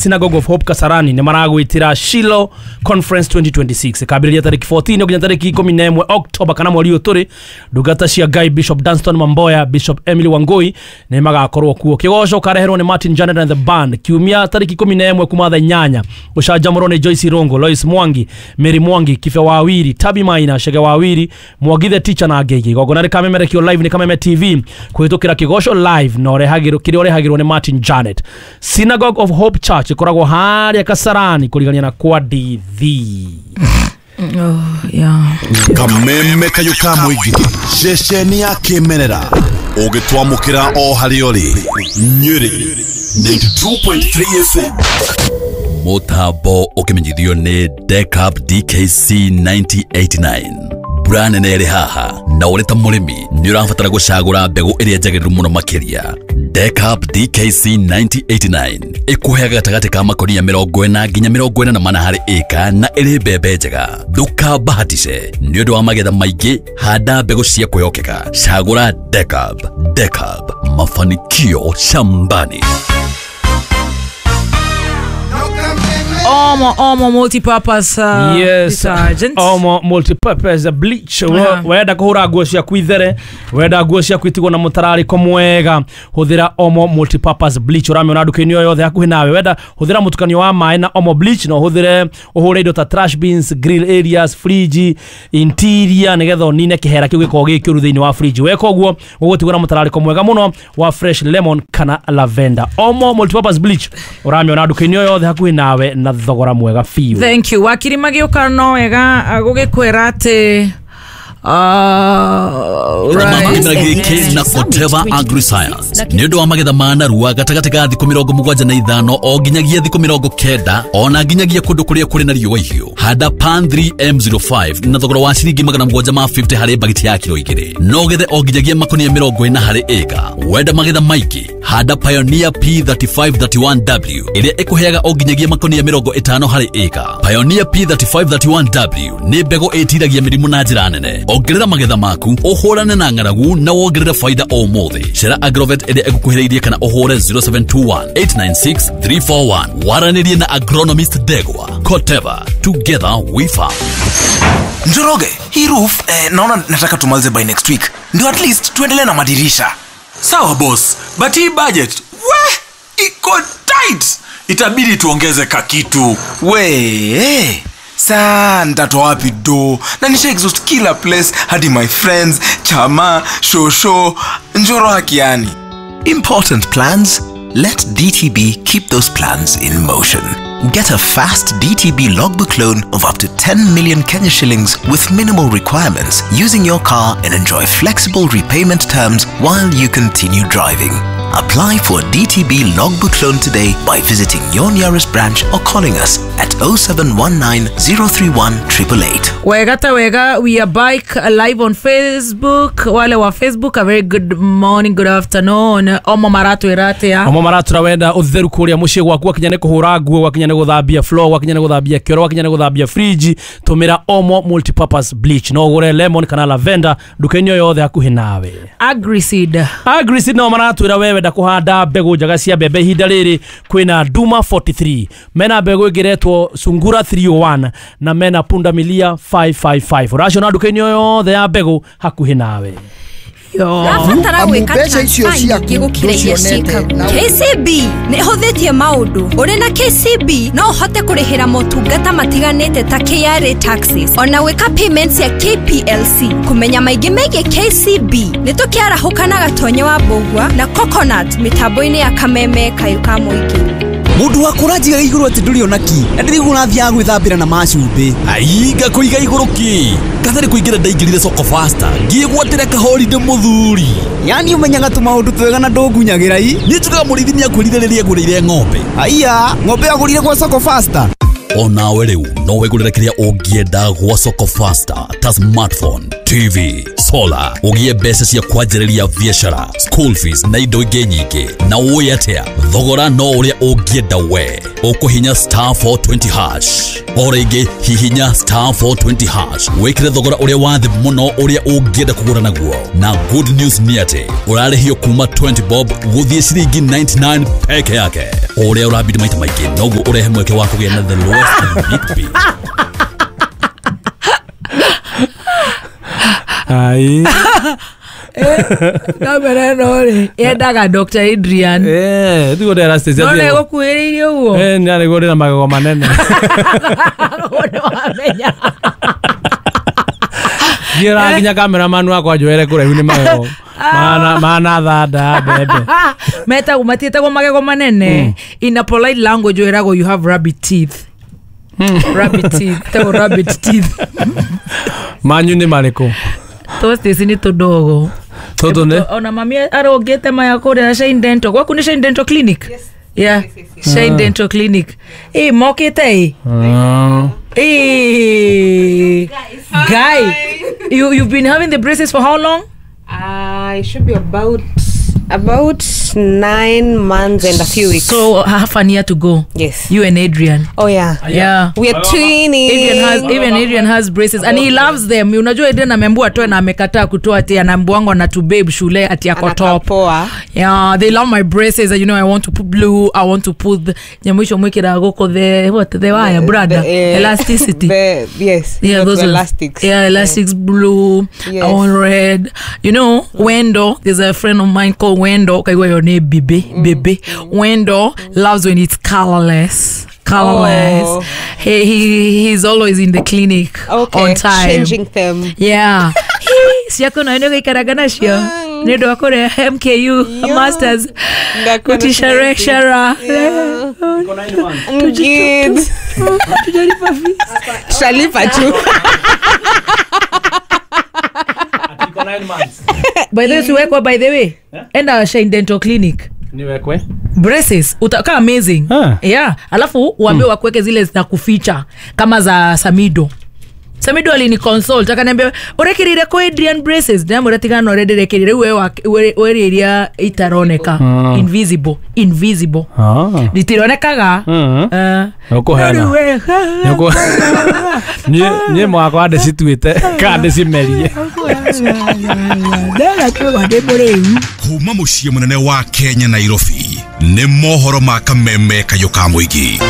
Synagogue of Hope Kasarani nĩ maragwĩtĩra Shiloh Conference 2026 ĩkambĩrĩria tarĩki 14 nginya tarĩki 11 October kana mweri ũyũ tũrĩ. Ndungata cia Ngai Bishop Dunstan Mamboya, Bishop Emily Wangui nĩ magakorwo kuo. Kĩgoco ũkareherwo nĩ Martin Janet and the band kiumia tarĩki 11 kuma thaa 8. Gũcanjamũrwo nĩ Joyce Rongo, Lois Mwangi, Mary Mwangi, Kibe Wawiri, Tabi Maina, Shege Wawiri, Mwangi the teacher na angĩ aingĩ. Igongona rĩkamemerekio live nĩ Kameme TV kũhĩtũkĩra Kĩgoco live na ũrehagĩrwo kĩrĩa ũrehagĩrwo nĩ Martin Janet. Synagogue of Hope Church ĩkoragwo harĩa Kasarani kũrigania na kwa Ndithi. Oh, yeah. Kameme kayũ ka mũingĩ, ceceni ya kĩmerera ũgĩtwamũkĩra o harĩa ũrĩ. Nyĩrĩ 92.3 FM. Mũtambo ũkĩmenyithio nĩ Decap DKC 9089. Mbura nene ĩrĩ haha na ũrĩ ta mũrĩmi nĩ ũrabatara gũcagũra mbegũ ĩrĩa njagĩrĩru mũno makĩria. Decap DKC 9089 ĩkũheaga gatagatĩ ka makonia 40 nginya 44 harĩ ĩka na ĩrĩ mbembe njega. Ndũkambahatice nĩ ũndũ wa magetha maingĩ, handa mbegũ cia kwĩhokeka. Cagũra Decap. Decap, mafanikio shambani. Omo multi-purpose Yes. detergent. Omo multi-purpose bleach. Wenda kũhũra nguo ciaku ithere, wenda nguo ciaku itigwo na mũtararĩko mwega, hũthĩra Omo multi-purpose bleach. Ũramĩona nduka-inĩ o yothe hakuhĩ nawe. Wenda hũthĩra mũtukanio wa maĩ na Omo bleach, na ũhũthĩre ũhũre indo ta trash bins, grill areas, fridge, interior, nĩgetha ũnine kĩhera kĩu gĩkoragwo gĩ kĩũru thĩinĩ wa fridge. Weka ũguo ũgũtigwo na mũtararĩko mwega mũno wa fresh lemon kana lavender. Omo multi-purpose bleach ũramĩona nduka-inĩ o yothe hakuhĩ nawe na thogora mwega biũ. Thank you. Wakiri magĩũka no wega gũgĩkwĩra atĩ right. Kĩmera gĩkĩ na Koteva AgriScience nĩ ũndũ wa magetha ma narua gatagatĩ ka thikũ 75 o nginyagia thikũ 90 ona nginyagia kũndũ kũrĩa kũrĩ na riũa ihiũ. Handa Pan 3M05 na thogora wa ciringi 750 harĩ bagiti ya kiro 2, no gethe o nginyagia makonia 40 harĩ ĩka. Wenda magetha maingĩ, handa Pioneer P3531W ĩrĩa ĩkũheaga o nginyagia makonia 50 harĩ ĩka. Pioneer P3531W nĩ mbegũ ĩtiragia mĩrimũ na njĩra nene. Ongerera magetha maku, ũhũrane na ng'aragu na wongerere faida o ũmũthĩ. Cera Agrovet ĩrĩa ĩgũkuhĩrĩirie kana ũhũre 0721 896 341. Waranĩrie na agronomist Ndegwa. Koteva, together we farm. Njoroge, hii roof naona nataka tumalize by next week. Ndio at least tuendelee na madirisha. Sawa boss, but hii budget we iko tight. Itabidi tuongeze kakitu. We, saa nitatoa wapi do? Na nisha exhaust kila place hadi my friends, chama, shosho, Njoro hakiani. Important plans? Let DTB keep those plans in motion. Get a fast DTB logbook loan of up to 10 million Kenya shillings with minimal requirements using your car and enjoy flexible repayment terms while you continue driving. Apply for a DTB logbook loan today by visiting your nearest branch or calling us at 0719 031 888. Wega ta wega, we are back live on Facebook. Wale wa Facebook, a very good morning, good afternoon. Omo maratwĩra atĩa? Omo maratwĩra wenda ũtheru kũrĩa mũciĩ gwaku, wakinya nĩ kũhũra nguo, wakinya nĩ gũthambia floor, wakinya nĩ gũthambia kĩoro, wakinya nĩ gũthambia fridge, tũmĩra Omo multipurpose bleach. No ũgũre lemon kana lavender nduka-inĩ o yothe hakuhĩ nawe. Agriseed. Agriseed no maratwĩra we wenda kũhanda mbegũ njega cia mbembe ihinda rĩrĩ kwĩna Duma 43, mena mbegũ ĩngĩ Sungura 301 na mena Punda Milia 555. Ũraciona nduka-inĩ o yothe ya mbegũ hakuhĩ nawe. Rabatara gwĩka mbeca icio transfer ciaku nyingĩ gũkĩra iria ndũcionete ciĩkagwo. na- KCB nĩ ĩhũthĩtie maũndũ. Ũrĩ na KCB no ũhote kũrĩhĩra motungata matiganĩte ta KRA taxes ona gwĩka payments ya KPLC. Kũmenya maingĩ megiĩ KCB nĩ tũkĩarahũka na Gatonye wa Mbũgua na Coconut mĩtambo-inĩ ya Kameme kayũ ka mũingĩ. Mũndũ wa kũranjiga igũrũ atĩ ndũrĩ ona ki na ndĩraigua ũrathiaga gwĩthambĩra na macumbĩ. Aiga kũiga igũrũ ki katarĩ kũingĩra ndaingĩrire soko faster ngĩgwatĩra kahorinde mũthuri. Yani ũmenyaga tũmaũndũ twega na ndũngunyagĩra i. Niĩ njugaga mũrĩithi nĩakwĩrire rĩrĩa agũrĩire ng'ombe. Aiya, ng'ombe agũrire gwa soko faster. Onawe rĩu no wĩgũrĩre kĩrĩa ũngĩenda gwa soko faster ta smartphone, TV, solar, ũgĩe mbeca cia kwanjĩrĩria biacara, school fees na indo ingĩ nyingĩ. Na ũĩ atĩa, thogora no ũrĩa ũngĩenda we. Ũkũhinya star 420 hash. O rĩngĩ hihinya star 420 hash wĩkĩre thogora ũrĩa wa thĩ mũno ũrĩa ũngĩenda kũgũra naguo. Na good news nĩ atĩ ũrarĩhio kuma 20 bob gũthiĩ ciringi 99 peke yake. O ũrĩa ũrabidi maita maingĩ noguo ũrehe mweke wa kũgĩa na the lowest need be. Ai. Kamera ĩno rĩ yendaga Dr. Adrian. Tiguo ndĩra Anastasia. No nĩgũkuhĩrĩirie ũguo. Nĩarĩguo ndĩna magego manene. Nĩwamenya. Ngiũraga nginya cameraman wakwa njoere kũraihu nĩ magego. Mana thanda mbembe. Metagwo matiĩtagwo magego manene. In a polite language wĩragwo you have rabbit teeth. Rabbit teeth. Tagwo rabbit teeth. Manyu nĩ marĩkũ? Tosti ni tudogo. Tũtũ nĩ? Ona mami arogete maya kũrĩa Shine Dental. Gwaku nĩ Shine Dental Clinic? Yes. Yeah. Yes. Shine Dental Clinic. Mokete. Guy. You've been having the braces for how long? It should be about 9 months and a few weeks. So half a year to go. Yes. You and Adrian. Oh yeah. Yeah. We are twinning. Adrian has braces and he loves them. Unajua Adrian ameambiwa atoe na amekataa kutoa ati anaambiwa na to babe shule ati ako top. Yeah, they love my braces and you know I want to put blue, I want to put nyamwisho mwikira goko the what the wire brother elasticity. Yes. Yeah, those elastics. Yeah, elastics blue. Yes. I want red. You know, Wendo, there's a friend of mine called Wendo. Okay, your name Bebe. Bebe. Wendo loves when it's colorless. Colorless. Oh. He's always in the clinic. Okay. On time. Changing them. Yeah. Siako na ndo ikaragana shio. Ndo akore MKU masters. Kutisha lecturer. Good. Tujalipa fees. Shalipa tu. 9 months. By the way, siwekwa by the way. Yeah? Enda Shine Dental Clinic. Niwekwe. Braces utakaa amazing. Yeah, alafu uambie wakuweke zile za kuficha kama za Samido. Samido alini consult akaniambia urekirire ko Adrian braces ndamura tigana urenderekirire wewe we area itaroneka. Invisible. Ritironekaga. Ukuhena. Nye mwakwa ndĩcituĩte kana ndĩcimerie. Kuma mũciĩ mũnene wa Kenya Nairobi nĩ mohoro ma kameme kayũ ka mũingĩ.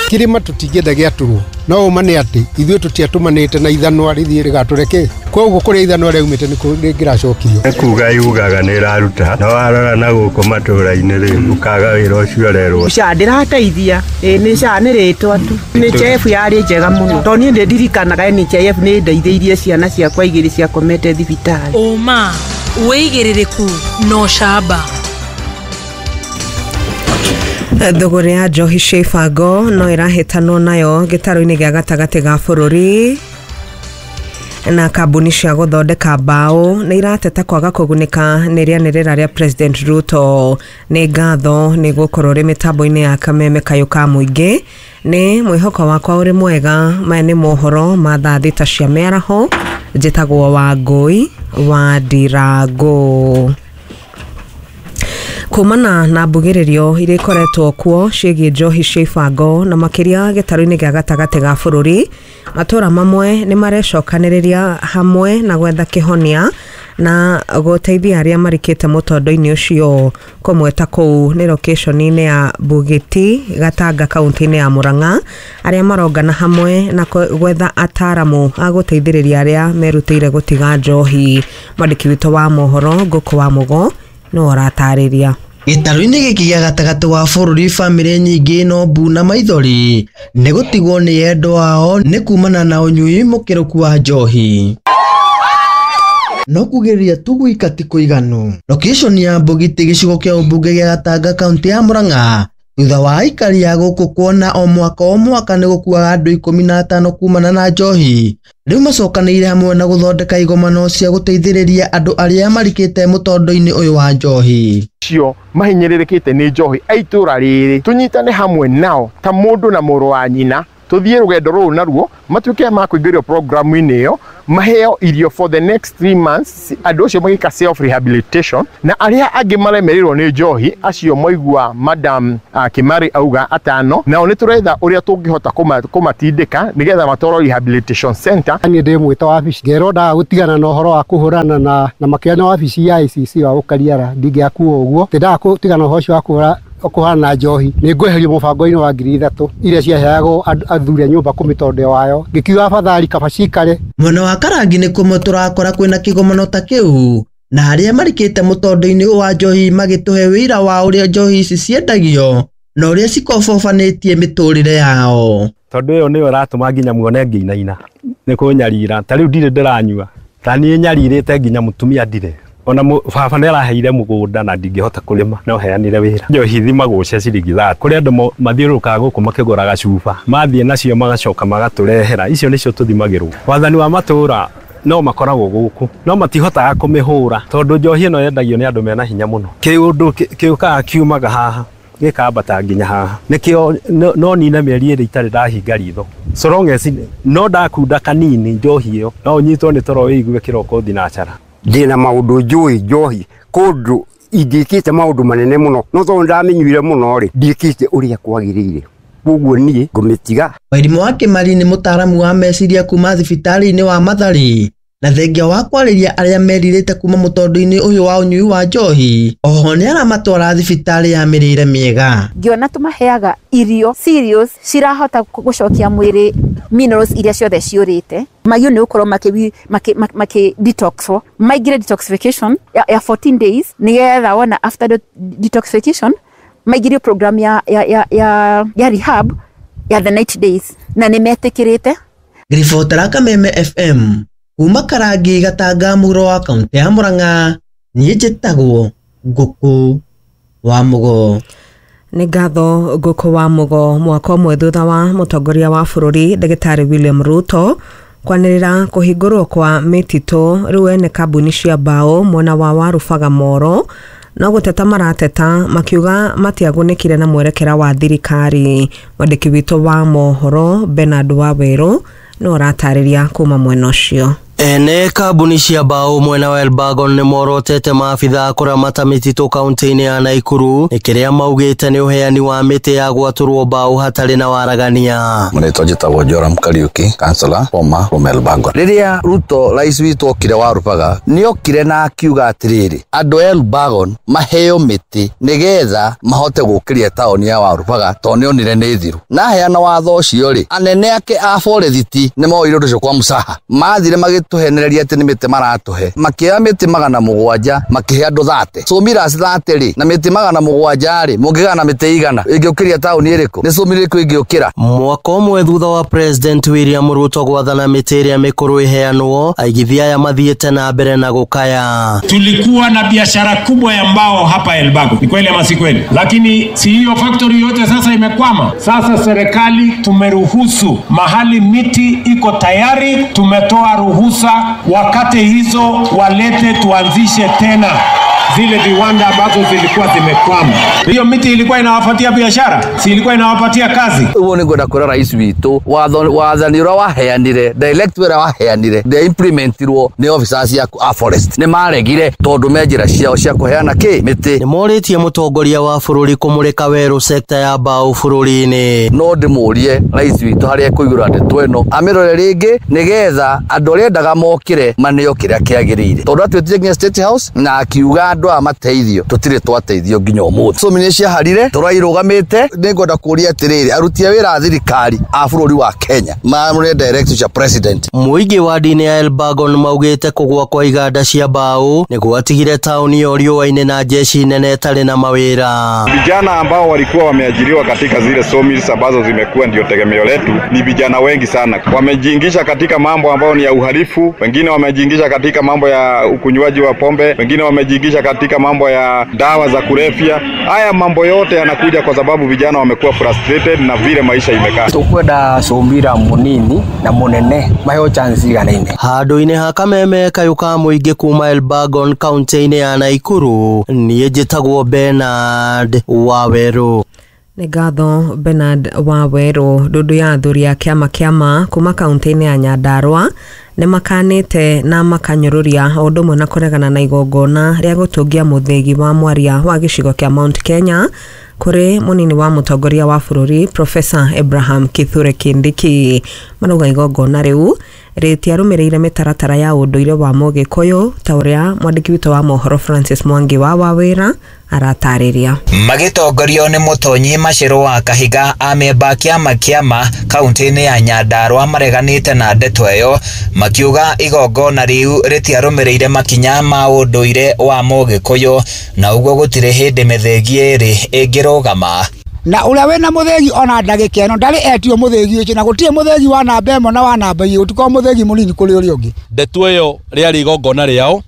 Kirima tutingĩenda gĩatũrwo no ũma nĩ atĩ ithuĩ tũtiatũmanĩte na ithanwa rĩthiĩ rĩgatũreke koguo kũrĩa ithanwa rĩaumĩte nĩ rĩngĩracokirio. Nĩ kuga yugaga nĩ ĩraruta no warora na gũkũ matũra-inĩ rĩ ũkaga wĩra ũcio ũrerwo. SHA ndĩrateithia nĩ SHA nĩ rĩtwa tu NHIF yarĩ njega mũno tondũ niĩ ndĩndirikanaga NHIF nĩ ndeithĩirie ciana ciakwa igĩrĩ ciakomete thibitarĩ. Ũma wĩigĩrĩrĩku no shaba. Thogora ya njohi cia ibango no ĩrahĩtanwo nayo gĩtarũ-inĩ gĩa gatagatĩ ga bũrũri na kambuni cia gũthondeka mbaũ nĩ irateta kwaga kũgunĩka nĩ rĩanĩrĩra rĩa President Ruto. Nĩ ngatho nĩ gũkorwo rĩ mĩtambo-inĩ ya kameme kayũ ka mũingĩ. Nĩ mwĩhoko wakwa ũrĩ mwega. Maya nĩ mohoro ma thaa thita cia mĩaraho. Njĩtagwo Wangũi wa Ndirango. Kumana na mbugĩrĩrio iria ikoretwo kuo ciĩgiĩ njohi cia ibango na makĩria gĩtarũ-inĩ gĩa gatagatĩ ga bũrũri, matũra mamwe nĩ marecokanĩrĩria hamwe na gwetha kĩhonia na gũteithia arĩa marikĩte mũtondo-inĩ ũcio. Kũmwe ta kũu nĩ location-inĩ ya Bugiti Gatanga kaunti-inĩ ya Murang'a, arĩa marongana hamwe na gwetha ataramu a gũteithĩrĩria arĩa merutĩire gũtiga njohi. Mwandĩki witũ wa mohoro Ngũkũ wa Mũgo no aratarĩria. Gĩtarũ-inĩ gĩkĩ gĩa gatagatĩ wa bũrũri bamĩrĩ nyingĩ no mbu na maithori nĩ gũtigwo nĩ endwa ao nĩ kumana na ũnyui mũkĩrũku wa njohi. No kugĩrĩria tu gwika ti kũiganu. Location ya Mbũgiti gĩcigo kĩa ũmbunge gĩa Gatanga kaunti ya Murang'a Thutha wa aikari a gũkũ kuona o mwaka nĩ gũkuaga andũ 15 kumana na njohi, rĩu macokanĩrĩire hamwe na gũthondeka igomano cia gũteithĩrĩria andũ arĩa marikĩte mũtondo-inĩ ũyũ wa njohi. Cio mahinyĩrĩrĩkĩte nĩ njohi a itũra rĩrĩ tũnyitane hamwe nao ta mũndũ na mũrũ wa nyina, tũthiĩ rũgendo rũrũ naruo matuĩke ma kũingĩrio programu-inĩ ĩyo, maheo irio for the next 3 months, andũ acio magĩka self rehabilitation, na arĩa angĩ maremererwo nĩ njohi acio moigua Madam Kimari auga atano, nao nĩ tũretha ũrĩa tũngĩhota kũmatindĩka nĩgetha matwarwo rehabilitation center. Niĩ ndĩ mwĩta wabici ngerwo ndaga gũtigana na ũhoro wa kũhũrana na makĩria na wabici ya ICC wa Gũkariara, ndingĩakua ũguo ndĩndaga gũtigana ũhoro ũcio wa kũhũrana na njohi, nĩ ngweherio mũbango-inĩ wa 3,000 iria ciaheagwo athuri a nyũmba kũmĩtondeo wayo, ngĩkiuga afadhali kaba cikare. Mwena wa Karangi nĩ kũmwe tũrakora kwĩna kĩgomano ta kĩu, na arĩa marikĩte mũtondo-inĩ wa njohi magĩtũhe wĩira wa ũrĩa njohi ici ciendagio na ũrĩa cikobobanĩtie mĩtũrĩre yao. Tondũ ĩyo nĩyo ĩratũma nginya muone ngĩinaina nĩ kũnyarira, ta rĩu ndirĩ ndĩranyua, ta niĩ nyarirĩte nginya mũtumia ndirĩ ona baba nĩ araheire mũgũnda na ndingĩhota kũrĩma, no heanire wĩra. Njohi thimagwo cia ciringi 30, kũrĩ andũ mathiũrũrũkaga gũkũ makĩgũraga cuba, mathiĩ nacio magacoka magatũrehera, icio nĩcio tũthimagĩrwo. Wathani wa matũũra no makoragwo gũkũ no matihotaga kũmĩhũra tondũ njohi ĩno yendagio nĩ andũ mena hinya mũno. Kĩũndũ kĩũkaga kiumaga haha gĩkambata nginya haha, nĩkĩo no nine mĩeri ĩrĩ itarĩ ndahinga ritho, so long as no ndakunda kanini njohi ĩyo no ũnyitwo nĩ toro wĩigue kĩroko thinacara. Ndĩna maũndũ njũĩ njohi kũndũ ingĩkĩte maũndũ manene mũno, no tondũ ndamĩnyuire mũno rĩ, ndiĩkĩte ũrĩa kwagĩrĩire, koguo niĩ ngũmĩtiga. Wairimu wa Kimari nĩ mũtaaramu wa meciria kuma thibitarĩ-inĩ wa Mathari, na thengia wa kwarĩria arĩa merirĩte kuma mũtondo-inĩ ũyũ wa ũnyui wa njohi, oho nĩ aramatwara thibitarĩ ya mĩrĩre mĩega. Ngĩona tũmaheaga irio cereals cirahota gũcokia mwĩrĩ minerals iria ciothe ciũrĩte, magio nĩ gũkorwo makĩ detox, maingĩre detoxification ya 14 days, nĩgetha wona after the detoxification maingĩrio program ya rehab ya the 90 days, na nĩ metĩkĩrĩte. Ngĩribotera Kameme FM kuma Karangi Gatanga mũhuro wa kaunti ya Murang'a, niĩ njĩtagwo Ngũkũ wa Mũgo. Nĩ ngatho Ngũkũ wa Mũgo. Mwaka ũmwe thutha wa mũtongoria wa bũrũri Ndagĩtarĩ William Ruto kwanĩrĩra kũhingũrwo kwa mĩtitũ, rĩu ene kambuni cia mbaũ mwena wa Warubaga Moro no gũteta marateta makiuga matiagunĩkire na mwerekera wa thirikari. Mwandĩki witũ wa mohoro Bernard Wawerũ no ũratarĩria kuma mwena ũcio. Ene kambuni cia mbaũ mwena wa Elbagon nĩ morotete maabithaa kũramata mĩtitũ kaunti-inĩ ya Naikuru nĩ kĩrĩa maugĩte nĩ ũheani wa mĩtĩ ya gwatũrwo mbaũ hatarĩ na waragania. Marĩtwa njĩtagwo Joram Kariuki, councillor former from Elbagon. Rĩrĩa Ruto rais witũ okire Warubaga, nĩ okire na akiuga atĩrĩrĩ, andũ a Elbagon maheo mĩtĩ nĩgetha mahote gũkĩria taũni ya Warubaga tondũ nĩonire nĩ thiru. Na aheana watho ũcio rĩ, anene ake a forethiti nĩ moire ũndũ ũcio kwa mũcaha, mathire magĩtũhenereria atĩ nĩ mĩtĩ maratũhe, makĩoya mĩtĩ 700 makĩhe andũ 30. Sawmillers 30 rĩ, na mĩtĩ 700 rĩ, mũngĩgana mĩtĩ igana ĩngĩũkĩria taũni ĩrĩkũ? Nĩ sawmill ĩrĩkũ ĩngĩũkĩra? Mwaka ũmwe thutha wa President William Ruto gwathana mĩtĩ ĩrĩa mĩkũrũ ĩheanwo, aigithia aya mathiĩte na mbere na gũkaya. Tulikuwa na biashara kubwa ya mbao hapa Elbago, ni kweli ama si kweli? Lakini si hiyo factory yote sasa imekwama. Sasa serikali tumeruhusu mahali miti iko tayari, tumetoa ruhusa wakati hizo walete tuanzishe tena zile viwanda ambazo zilikuwa zimekwama. Hiyo miti ilikuwa inawapatia biashara, si ilikuwa inawapatia kazi. Uguo nĩ ngwenda kwĩra rais witũ wathani ũrĩa waheanire, direct ũrĩa waheanire ndĩa-implementirwo nĩ officers a forest, nĩ maregire tondũ me njĩra ciao cia kũheana kĩ mĩtĩ. Nĩ morĩtie mũtongoria wa bũrũri kũmũrĩka werũ sekta ya mbaũ bũrũri-inĩ. No ndĩmũrie rais witũ harĩa ekũigũra ndeto ĩno amĩrore rĩngĩ nĩgetha andũ arĩa endaga mokĩre maneo kĩrĩa kĩagĩrĩire, tondũ atwĩtire nginya State House na akiuga andũ aya mateithio, tũtirĩ twateithio nginya ũmũthĩ. So nĩ ciaharire tũrairũgamĩte. Nĩ ngwenda kũria atĩrĩrĩ, aruti a wĩra a thirikari a bũrũri wa Kenya mamũre directive cia president. Mũingĩ wa ndini ya Elbagon maugĩte kũgũa kwa iganda cia mbaũ nĩ gwatigire taũni ĩyo riũa-inĩ na jeshi nene ĩtarĩ na mawĩra. Vijana ambao walikuwa wameajiriwa katika zile sawmills ambazo zimekuwa ndio tegemeo letu ni vijana wengi sana. Wamejiingisha katika mambo ambayo ni ya uhalifu, wengine wamejiingisha katika mambo ya ukunywaji wa pombe, wengine wamejiingisha katika mambo ya dawa za kulevya. Haya mambo yote yanakuja kwa sababu vijana wamekuwa frustrated na vile maisha imekaa. Tukwenda cumbira munini na munene maheo chance iganaine. Handũ-inĩ ha kameme kayũ ka mũingĩ kuma Elbagon kaunti-inĩ ya Naikuru, niĩ njĩtagwo Bernard Wawerũ. Nĩ ngatho Bernard Wawerũ. Ndundu ya athuri a kĩama kĩama kuma kaunti-inĩ ya Nyandarua nĩ makanĩte na makanyũrũria o ũndũ ũmwe na kũregana na igongona rĩa gũtũngia mũthĩgi wa mwaria wa gĩcigo kĩa Mount Kenya kũrĩ mũnini wa mũtongoria wa bũrũri Professor Abraham Kithure Kindiki. Marauga igongona rĩu rĩtiarũmĩrĩire mĩtaratara ya ũndũire wa Mũgĩkũyũ ta ũrĩa mwandĩki witũ wa mohoro Francis Mwangi wa Wawĩra aratarĩria. Magĩtongorio nĩ Mũtonyi Macĩrũ wa Kahiga, amemba kĩama kĩama kaunti-inĩ ya Nyandarua mareganĩte na ndeto ĩyo, makiuga igongona rĩu rĩtiarũmĩrĩire makinya ma ũndũire wa Mũgĩkũyũ na ũguo gũtirĩ hĩndĩ mĩthĩgi ĩrĩ ĩngĩrũgama. Na ũrĩa wĩna mũthĩgi ona ndagĩka ĩno ndarĩ etio mũthĩgi ũcio, na gũtirĩ mũthĩgi wa namba ĩmwe na wa namba igĩrĩ, gũtikorwo mũthĩgi mũnini kũrĩ ũrĩa ũngĩ. Ndeto ĩyo rĩarĩ igongona rĩao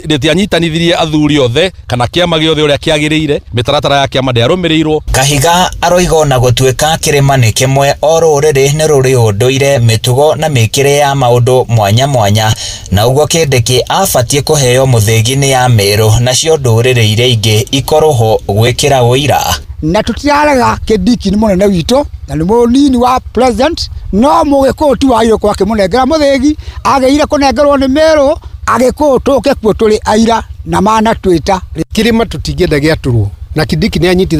rĩtianyitanithirie athuri othe kana kĩama gĩothe ũrĩa kĩagĩrĩire, mĩtaratara ya kĩama ndĩarũmĩrĩirwo. Kahiga aroiga ona gũtuĩka kĩrĩma nĩ kĩmwe, o rũrĩrĩ nĩ rũrĩ ũndũire, mĩtugo na mĩkĩre ya maũndũ mwanya mwanya, na ũguo Kindiki abatiĩ kũheo mũthĩgi nĩ ya Meru nacio ndũrĩrĩ iria ingĩ ikorwo ho gwĩkĩra ũira. Na tutirarega Kindiki nĩ mũnene witũ na nĩ mũnini wa president, no Mũgĩkũyũ ti wagĩrĩirwo kwa akĩmũnengera mũthĩgi, agĩrĩire kũnengerwo nĩ Meru Agĩkũyũ tũke kuo tũrĩ aira na manatwĩta. Kĩrĩma tũtingĩenda gĩatũrwo na Kindiki nĩ anyitithania.